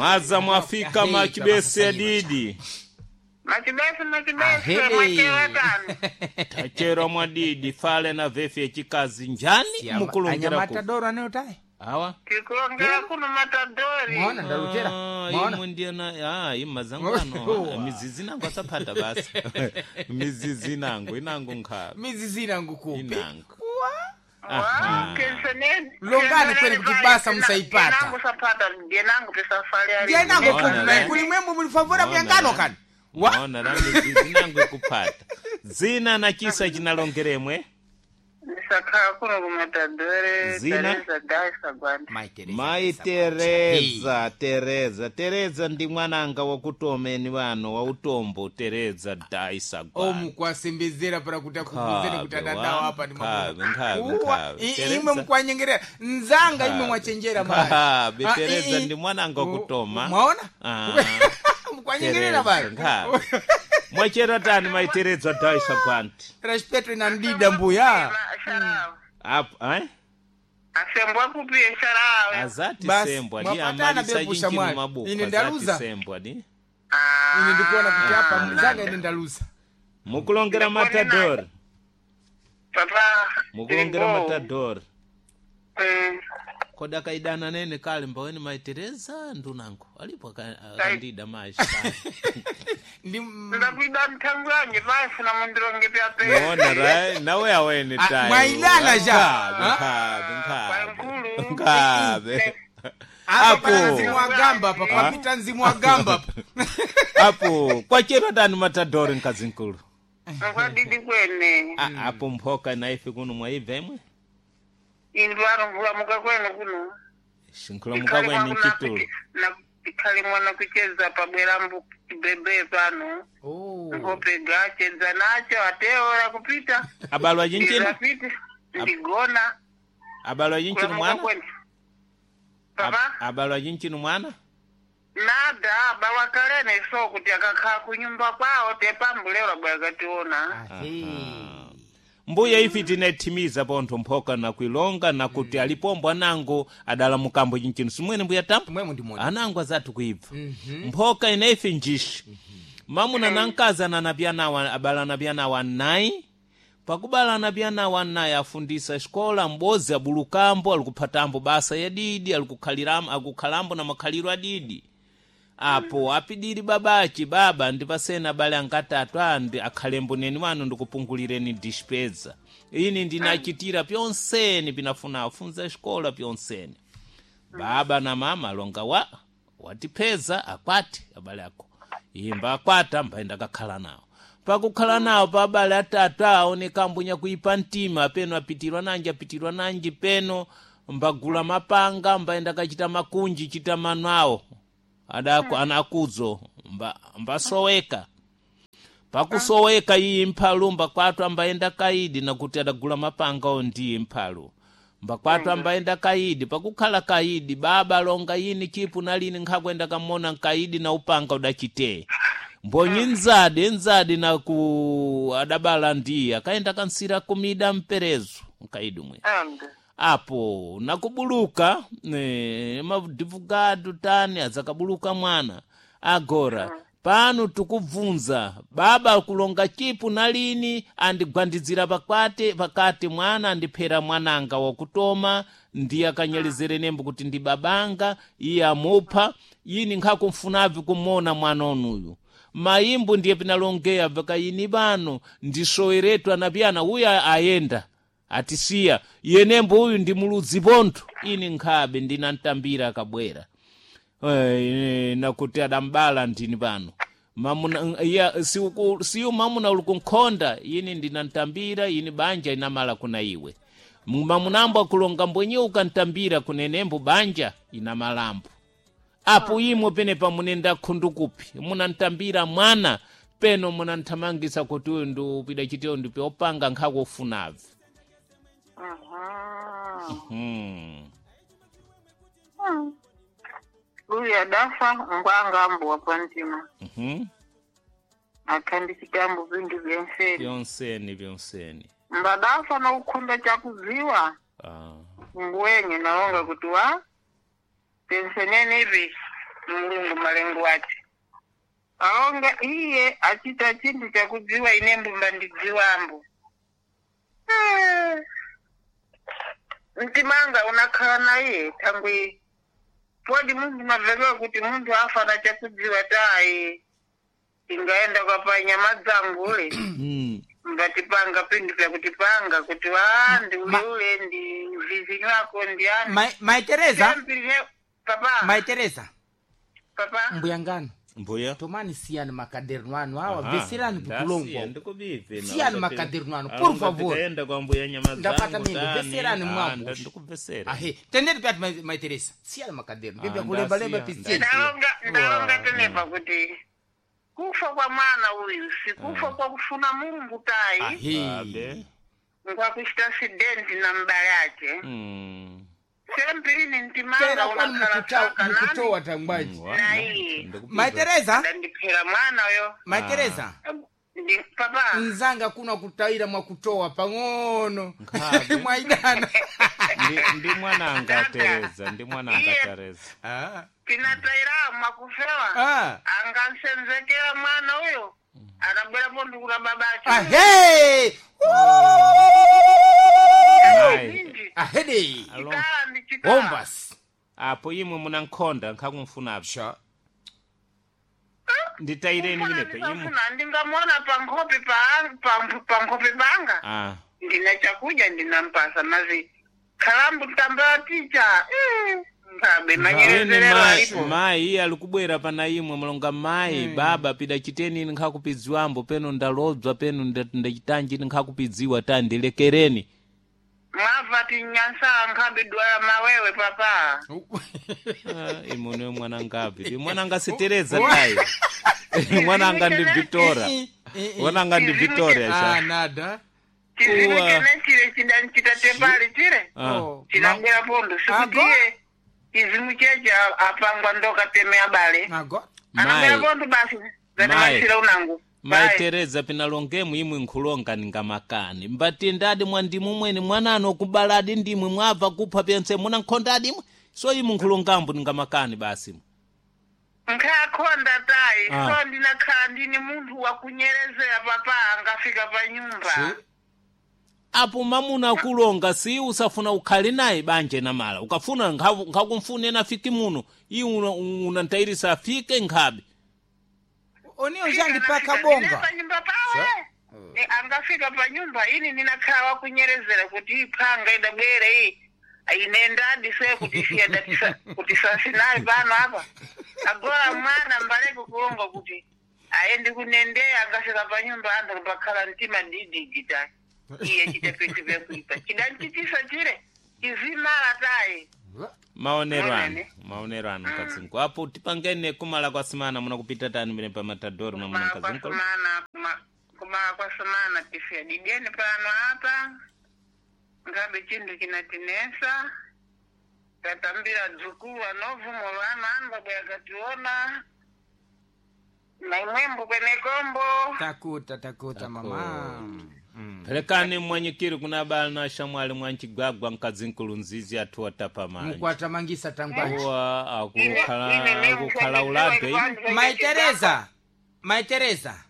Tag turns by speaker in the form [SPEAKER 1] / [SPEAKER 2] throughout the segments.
[SPEAKER 1] Mwaza mwafika
[SPEAKER 2] Ahe,
[SPEAKER 1] machibese
[SPEAKER 2] baba sasa
[SPEAKER 1] adidi.
[SPEAKER 3] Machibese machibese
[SPEAKER 2] Ahele.
[SPEAKER 3] mwachewa tani.
[SPEAKER 1] Tachero mwadidi fale na vefi yechikazi njani mukulongera ku.
[SPEAKER 2] anyamatadoro anayotaye
[SPEAKER 1] Awa.
[SPEAKER 3] Tikulongera kuno matadori.
[SPEAKER 2] mwaona ndalutera
[SPEAKER 1] Ah,
[SPEAKER 2] mwaona
[SPEAKER 1] imwe ndiye na ah, imazangano ah, mizizi nangu asapata basi mizizi nangu inangu nkhabe
[SPEAKER 2] mizizi inangu kupi
[SPEAKER 1] inangu
[SPEAKER 3] Wa, kenseneni.
[SPEAKER 2] Longani kweli kuti basa musaipata.
[SPEAKER 3] Ndiyenangu sapata, ndiyenangu pesafari ali.
[SPEAKER 2] ndiye nango
[SPEAKER 1] Mwaona,
[SPEAKER 2] kupi naye
[SPEAKER 1] eh?
[SPEAKER 2] kuli mwembo mulifavora
[SPEAKER 1] Mwaona,
[SPEAKER 2] kuyangano
[SPEAKER 1] eh?
[SPEAKER 2] kani wa
[SPEAKER 1] Mwaona la mizizi nangu ikupata zina na chisa chinalongeremwe
[SPEAKER 3] Ndisakhala kuno kumatadori.
[SPEAKER 1] Zina?
[SPEAKER 3] Teresa Daisa Gwanda.
[SPEAKER 2] Mai Teresa,
[SPEAKER 1] mai tereza tereza tereza ndi mwananga wakutomeni wano wa utombo tereza daisa Gwanda.
[SPEAKER 2] omukwasembezera para kuti akubvunzeni kuti
[SPEAKER 1] Nkhabe,
[SPEAKER 2] adadawo
[SPEAKER 1] wa,
[SPEAKER 2] apa ndi
[SPEAKER 1] nkhabe,
[SPEAKER 2] mwamuna.
[SPEAKER 1] nkhabe,
[SPEAKER 2] Uwa,
[SPEAKER 1] nkhabe. Teresa.
[SPEAKER 2] imwe mukwanyengerera nzanga imwe mwachenjera mayi.
[SPEAKER 1] Nkhabe,
[SPEAKER 2] Ah,
[SPEAKER 1] Teresa
[SPEAKER 2] i- i-
[SPEAKER 1] ndi mwananga wakutoma.
[SPEAKER 2] mwaona
[SPEAKER 1] Ah.
[SPEAKER 2] mukwanyengerera
[SPEAKER 1] Teresa,
[SPEAKER 2] mayi
[SPEAKER 1] nkhabe. Mwachera tani mai tereza daisa Gwanda
[SPEAKER 2] respeto inandida mbuya
[SPEAKER 3] Sharawe.
[SPEAKER 1] apo eh?
[SPEAKER 3] Asembwa kupi sharawe.
[SPEAKER 1] azati
[SPEAKER 2] Basi,
[SPEAKER 1] sembwa di
[SPEAKER 2] mwapatana
[SPEAKER 1] amalisa
[SPEAKER 2] bepusha
[SPEAKER 1] chinchino
[SPEAKER 2] mwali.
[SPEAKER 1] mabuku
[SPEAKER 2] Ine
[SPEAKER 1] azati
[SPEAKER 2] ndaluza.
[SPEAKER 1] sembwa di
[SPEAKER 2] ine ndikuona kuti apa mzanga ine ndaluza
[SPEAKER 1] mukulongera
[SPEAKER 3] Ndikuona
[SPEAKER 1] matador
[SPEAKER 3] Papa.
[SPEAKER 1] mukulongera
[SPEAKER 3] Ndingo.
[SPEAKER 1] matador
[SPEAKER 3] Mm.
[SPEAKER 1] kodi akaidana nene kale mbaweni mai tereza ndunango alipo akandida mashi
[SPEAKER 2] ndi
[SPEAKER 3] Ndakuida mthangu yange basi na mundironge pyape.
[SPEAKER 1] muona ra nawe awene
[SPEAKER 2] Ah,
[SPEAKER 1] tayo
[SPEAKER 2] mwailana ja.
[SPEAKER 1] nkhabe nkhabe
[SPEAKER 3] Pankulu.
[SPEAKER 1] nkhabe
[SPEAKER 2] apa
[SPEAKER 1] Apo.
[SPEAKER 2] pana mzimu wa gamba apa papita mzimu wa gamba apa
[SPEAKER 1] apo kwachera tani matador mkazinkulu
[SPEAKER 3] Ngwadidi kwene.
[SPEAKER 1] Ah, apo mphoka naife kuno mwaibva imwe
[SPEAKER 3] Indwaro mvula muka kwene kuno.
[SPEAKER 1] shinkulamuka kwene mchitulo
[SPEAKER 3] Ikhale mwana kucheza pabwerambu chibebe pano. Ngope gachedza nacho ateora kupita.
[SPEAKER 1] abalwa chinchino
[SPEAKER 3] Ndizapita. Ndigona.
[SPEAKER 1] abalwa chinchino
[SPEAKER 3] Kulamuka
[SPEAKER 1] mwana
[SPEAKER 3] kwene. Papa?
[SPEAKER 1] Abalwa chinchino mwana
[SPEAKER 3] Nada bawakalene so kuti akakhala kunyumba kwawo tepambulero bwakationa.
[SPEAKER 1] Mbuya ifi tinethimiza pontho mphoka nakuilonga nakuti alipombwa nango adala mukambo chinchino simwene mbuya tambo
[SPEAKER 2] mwemwe ndimona
[SPEAKER 1] anango azathu kuibva mphoka inaife njishi mamuna na mkazi ananapyanawa abalana pyanawa nayi pakubalana pyanawa nayi afundisa xikola m'bozi abulukambo alikuphatambo basa yadidi alikukhaliramo akukhalambo na makhaliro adidi apo apidiri babachi baba ndipasena abale angatatu andi akhalembo neni wanu ndikupungulireni dispeza ini ndinachitira pyonseni pinafuna afunza xikola pyonseni baba na mama longa wa watipheza akwati abale ako imba akwata mbaenda kakhala nawo pakukhala nawo pa abale atatu aoneka mbunya kuipa mtima peno apitirwa nanji apitirwa nanji peno mbagula mapanga mbaenda kachita makunji chita mano awo adako anakudzo mba, mbasoweka pakusoweka iyi mphalu mbakwatu ambayenda kaidi nakuti adagula mapanga o ndiye mphalu mbakwatu ambayenda kaidi pakukhala kaidi baba longa yini chipu nalini nkhakwenda kamona nkaidi na upanga udachitee mbonyi nzadi nzadi naku adabala ndiye akaenda kansira kumida mperezo nkaidi mwe
[SPEAKER 3] Ande.
[SPEAKER 1] apo nakubuluka madhivugadu tani azakabuluka mwana agora pano tikubvunza baba kulonga chipu nalini andigwandidzira pakwati pakati mwana andiphera mwananga wakutoma ndiye akanyelezere nembo kuti ndi babanga iye amupha yini nkhakumfunavi kumona mwana onuyu mayimbo ndiye pinalongeya pakayini pano ndisoweretu anapiyana uyu ayenda atisiya yenembo uyu ndi muludzi pontho ini nkhabe ndinantambira akabwera nakuti adambala ndini pano mamuna iya siuku siyu mamuna uli kunkhonda ini ndinantambira ini banja inamala kuna iwe mamunambo akulonga mbwenye ukantambira kunenembo banja inamalambo apo imwe penepa munenda khundu kupi munantambira mwana peno munanthamangisa kuti uyu ndi upida chiteyo ndipe opanga nkhako ufunavi
[SPEAKER 3] Uyu adafa ngwanga ambuwa pantima. Akhandichitambo vintu vyenseni.
[SPEAKER 1] Byonseni byonseni
[SPEAKER 3] Mbadafa nokukhunda chakudziwa.
[SPEAKER 1] Ah.
[SPEAKER 3] Ngwenye nalonga kuti wa penseneni ivi. Mulungu malengo ake. Aonga iye achita chinthu chakudziwa ine mbumba ndidziwambo. Eh, mtimanga unakhala naye thangwi podi munthu mavelewa kuti munthu afana chakudziwa tayi ingaenda kwapa nyama dzangule mbatipanga pinthu vyakutipanga kuti wa ndi uleule ndi vizinyu ako ndi ani.
[SPEAKER 2] Mai Teresa.
[SPEAKER 3] Sempirine- papa.
[SPEAKER 2] Mai Teresa.
[SPEAKER 3] Papa.
[SPEAKER 2] Mbuyangano.
[SPEAKER 1] Mbuya.
[SPEAKER 2] Tomani siyani makaderno anu awa
[SPEAKER 1] Aha,
[SPEAKER 2] veserani
[SPEAKER 1] ndasiya,
[SPEAKER 2] pikulongwa.
[SPEAKER 1] ndikubive na
[SPEAKER 2] Siyani
[SPEAKER 1] wakati-
[SPEAKER 2] makaderno anu, por
[SPEAKER 1] alonga
[SPEAKER 2] favor.
[SPEAKER 1] tikaenda kwa mbuya nyama
[SPEAKER 2] Ndapata
[SPEAKER 1] zangu,
[SPEAKER 2] mimba,
[SPEAKER 1] tani.
[SPEAKER 2] veserani
[SPEAKER 1] Ah,
[SPEAKER 2] mwapo.
[SPEAKER 1] ndikubvesera.
[SPEAKER 2] Ahe, tendeni pyati Mai Teresa. Siyani makaderno. Biblia
[SPEAKER 1] Ah,
[SPEAKER 2] kulemba-lemba
[SPEAKER 1] ndasiya,
[SPEAKER 2] pisiyeni.
[SPEAKER 3] Ndalonga tenepa kuti kufa kwa mwana uyu sikufa kwa kufuna Mulungu tayi.
[SPEAKER 2] Ahe.
[SPEAKER 1] Abe.
[SPEAKER 3] Nkwakuchita sidenti na mbale ake. Sempirini mtimanga
[SPEAKER 2] Tera kwani
[SPEAKER 3] unakhala tsaka nani
[SPEAKER 2] mukutowa tangwaji.
[SPEAKER 3] Nayi.
[SPEAKER 2] Mai Teresa,
[SPEAKER 3] ndandiphera mwana uyo.
[SPEAKER 2] Mai Teresa.
[SPEAKER 3] Ndi papa.
[SPEAKER 2] Nzanga kuna kutayira mwakutowa pang'ono.
[SPEAKER 1] Nkhabe.
[SPEAKER 2] Mwaidana.
[SPEAKER 1] Ndi mwananga Teresa, ndi mwananga
[SPEAKER 3] Iye.
[SPEAKER 1] Teresa.
[SPEAKER 2] Ah.
[SPEAKER 3] Pinatayira mwakufewa.
[SPEAKER 2] Ah.
[SPEAKER 3] Angansenzekera mwana uyo. Anabwerapo ndikula babache.
[SPEAKER 2] Ahe.
[SPEAKER 1] Mai.
[SPEAKER 3] Zinji.
[SPEAKER 2] Ahede.
[SPEAKER 1] Alo.
[SPEAKER 3] Chikala ndi chikala.
[SPEAKER 2] Bombas.
[SPEAKER 1] Apo imwe muna nkhonda nkhakumfuna
[SPEAKER 2] Sha.
[SPEAKER 1] nditayireni minepe imwe.
[SPEAKER 3] Ndifuna ndingamona pankhope pankhope panga.
[SPEAKER 1] Ah.
[SPEAKER 3] Ndina chakudya ndinampasa mazi khalambu tambala ticha. Ngabe
[SPEAKER 1] Ene
[SPEAKER 3] manyerezerero
[SPEAKER 1] mai,
[SPEAKER 3] alipo.
[SPEAKER 1] mai iye ali kubwera pana imwe mulonga mai baba pida chiteni ine nkhakupidziwambo peno ndalodzwa peno ndachitanji ine nkhakupidziwa ta ndilekereni.
[SPEAKER 3] Mwava tinyansa nkhabe dwala mawewe papa.
[SPEAKER 1] Ah, imwe mwananga api mwananga si Teresa tayi. Mwananga ndi Victoria. Mwananga ndi Victoria
[SPEAKER 2] Ah,
[SPEAKER 1] sha.
[SPEAKER 2] nada.
[SPEAKER 3] Chizimu
[SPEAKER 1] Uwa.
[SPEAKER 3] chene chile chidanchita tepali chile.
[SPEAKER 1] Ah.
[SPEAKER 2] Oh.
[SPEAKER 3] Chinabwera pondo sikuti
[SPEAKER 2] Ago.
[SPEAKER 3] iye chizimu cheche apangwa ndoka teme abale.
[SPEAKER 2] Ago.
[SPEAKER 3] Anabwera
[SPEAKER 1] Mai.
[SPEAKER 3] pondo basi.
[SPEAKER 1] Mai.
[SPEAKER 3] Zanamasira unangu.
[SPEAKER 1] Mai
[SPEAKER 3] Bye.
[SPEAKER 1] Teresa pinalongemu imwe nkhulonga ningamakani mbatendadi mwandimu mwene mwanano kubaladi ndimwe mwabva kupha pyense muna nkhondadi imwe so imwe nkhulongambo ningamakani basi.
[SPEAKER 3] Nkhakhonda tayi.
[SPEAKER 1] Ah.
[SPEAKER 3] So ndinakhala ndini munthu wakunyerezera papa angafika pa nyumba.
[SPEAKER 1] Apo mamuna akulonga si usafuna ukhale naye banje namala ukafuna nkhakumfune nafiki muno iwe unantayirisa afike nkhabe.
[SPEAKER 2] Oniyo njangi paka bonga.
[SPEAKER 3] Pa nyumba pawe. Ni angafika pa nyumba ini ninakhala wakunyerezera kuti iphanga idabwere iyi. Ine ndadi se kuti siya datisa kuti sasinayi pano apa. Agola mwana mbaleko kulonga kuti ayendi kunendeya angafika pa nyumba anthu pakhala mtima didigita. Iye chita pinthu vyakuipa. Chidanchitisa chile chizimala tayi.
[SPEAKER 1] Maonero anu
[SPEAKER 3] Maonene.
[SPEAKER 1] maonero anu mkazingu apo tipangene kumala kwa simana muna kupita tani mene pa matadori mwamuna
[SPEAKER 3] Kumala kwa
[SPEAKER 1] mkazingu.
[SPEAKER 3] sumana kumala kwa sumana tifya dideni pano apa ngabe chinthu chinatinesa tatambira dzukulu anovumo lwana anu babwe akationa na imwembo kwenekombo.
[SPEAKER 2] Takuta takuta mama.
[SPEAKER 1] Pelekani mwanyikiri kuna abale na shamwali mwanchigwagwa mkazinkulu nzizi athu watapa manja.
[SPEAKER 2] Mukwatamangisa tangwaji.
[SPEAKER 1] Uwa akukhala akukhala ulabwe ine.
[SPEAKER 2] Mai Teresa. Mai Teresa.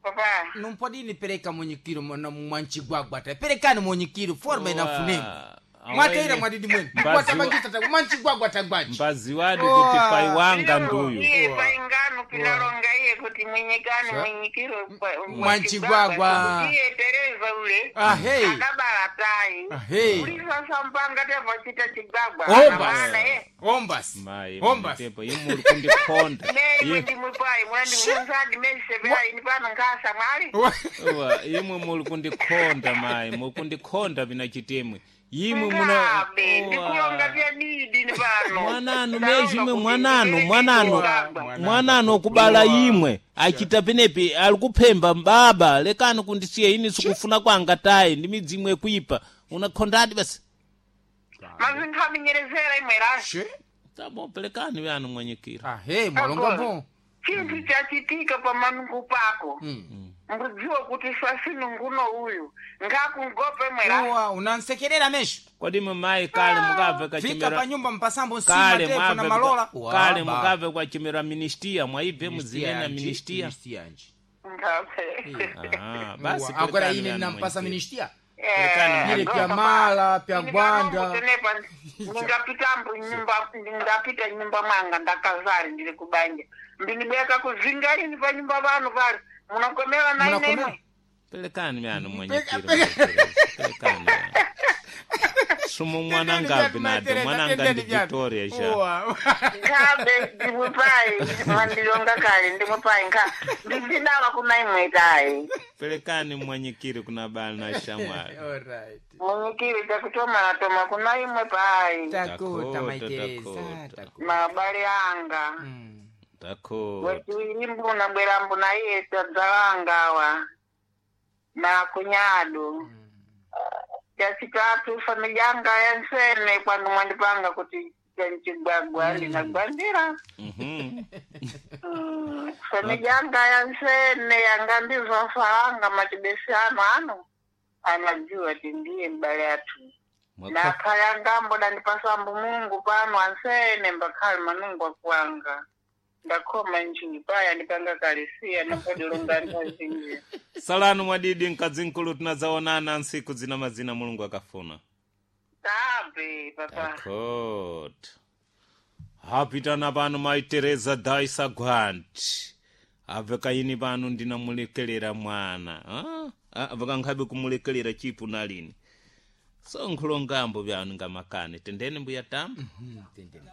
[SPEAKER 3] Papa.
[SPEAKER 2] Numpodini pereka munyikiro mwana mwanchigwagwa ta. Perekani munyikiro forma inafunemu.
[SPEAKER 1] Uwa,
[SPEAKER 2] Mwataira
[SPEAKER 1] awene
[SPEAKER 2] mwadidi mwene.
[SPEAKER 1] Mbazi
[SPEAKER 2] Mukwatamangisa tangwaji. Mwanchigwagwa tangwaji.
[SPEAKER 1] mbaziwadi kuti pai wanga nduyu.
[SPEAKER 3] Iye paingano pinalonga iye kuti mwenyekani mwenyikiro
[SPEAKER 2] Mwanchigwagwa.
[SPEAKER 3] Iye Tereza ule
[SPEAKER 2] Ahe.
[SPEAKER 3] adabala tayi.
[SPEAKER 2] Ahe.
[SPEAKER 3] Ulisasa mpanga tevachita chigwagwa.
[SPEAKER 2] Ombas.
[SPEAKER 3] Ana ye.
[SPEAKER 2] Ombas.
[SPEAKER 1] Mai
[SPEAKER 2] Ombas.
[SPEAKER 1] tepo imwe uri kundikhonda.
[SPEAKER 3] Nei ndimwipai muna ndimuzadi mesevera ini pano nkasa mwali.
[SPEAKER 1] Uwa imwe muli kundikhonda mai muli kundikhonda pina chitemwe. Imwe muna
[SPEAKER 3] Ngabe ndikulonga vya didi ni pano.
[SPEAKER 1] mwananu
[SPEAKER 3] Ndalonga
[SPEAKER 1] mezhimwe
[SPEAKER 3] kuti
[SPEAKER 1] mwananu
[SPEAKER 3] ndipeleke
[SPEAKER 1] mwananu
[SPEAKER 3] chigwagwa.
[SPEAKER 1] mwananu okubala imwe achita penepi ali kuphemba baba lekani kundisiya ini sikufuna kwanga tayi ndi midzimu ikuipa unakhondadi basi.
[SPEAKER 3] Mazinthu aminyerezera imwe rasi.
[SPEAKER 2] She.
[SPEAKER 1] Tabo pelekani vyanu mwanyikira.
[SPEAKER 2] Ahe mwalonga bo.
[SPEAKER 3] Chinthu chachitika pamanungu pako, mbudziwa kuti swasinunguno uyu ngakungope mwera.
[SPEAKER 2] Uwa, unansekerera mesho.
[SPEAKER 1] Kodi mamayi kale mukabve
[SPEAKER 2] Fika
[SPEAKER 1] kachimera
[SPEAKER 2] pa nyumba mpasambo nsima
[SPEAKER 1] kale
[SPEAKER 2] tefu na
[SPEAKER 1] mwabve
[SPEAKER 2] malola.
[SPEAKER 1] kale mukabve kwachimera ministia mwaibve muzinena ministia.
[SPEAKER 2] Ministia nji.
[SPEAKER 3] Ngape.
[SPEAKER 1] Ah, basi
[SPEAKER 2] Uwa, agora
[SPEAKER 1] perekani
[SPEAKER 2] ine
[SPEAKER 1] vyanu
[SPEAKER 2] nampasa
[SPEAKER 1] mwenyekiti.
[SPEAKER 2] ministia.
[SPEAKER 1] Perekani.
[SPEAKER 2] Ile pya mala, pya gwanda.
[SPEAKER 3] Ndingapitambo nyumba, ndingapita nyumba mwanga ndakazari ndiri kubanja ndinibeka kuzingarini pa nyumba vanu pali munakomela na ine
[SPEAKER 2] Munakomela?
[SPEAKER 3] imwe.
[SPEAKER 1] Pelekani vyanu mwenyekiti. Pelekani vyanu. Sumu mwananga binado mwananga ndi Victoria sha.
[SPEAKER 2] Uwa.
[SPEAKER 3] Nkhabe ndimupayi mwandilonga kale ndimupayi nkha ndizidawa kuna imwe tayi.
[SPEAKER 1] Pelekani mwenyekiti kuna bali na shamwali.
[SPEAKER 2] Alright.
[SPEAKER 3] Mwenyekiri takutomana toma kuna imwe payi.
[SPEAKER 2] Takuta
[SPEAKER 1] Takuta,
[SPEAKER 2] maitereza.
[SPEAKER 1] takuta.
[SPEAKER 2] Takuta.
[SPEAKER 3] Mabale anga.
[SPEAKER 1] Takuta.
[SPEAKER 3] Wetiwiri mbuna bwera mbuna iye tadzalangawa na kunyado. Chachitatu familia yanga yansene kwandu mwandipanga kuti chanchigwagwa ndinagwandira. Familia yanga yansene yanga ndizofalanga matibesi ano ano anajua ti ndiye mbale atu nakhale angambo dandipasambo Mungu pano ansene mbakhale manungu akuwanga ndakhoma nchini paya ndipanga kalisiya napodilonga nthazinji.
[SPEAKER 1] Salanu mwadidi mkadzi mkulu tinadzaonana ntsiku zina mazina Mulungu akafuna.
[SPEAKER 3] Tabe papa.
[SPEAKER 1] Takuta. Hapitana pano mai Teresa Daisa Grant. Abve kaini pano ndinamulekelera mwana. Ah? Ah, vakankhabe kumulekelera chipu nalini. So nkhulongambo vyanu ngamakane. Tendeni mbuya tamba.
[SPEAKER 2] Tendeni.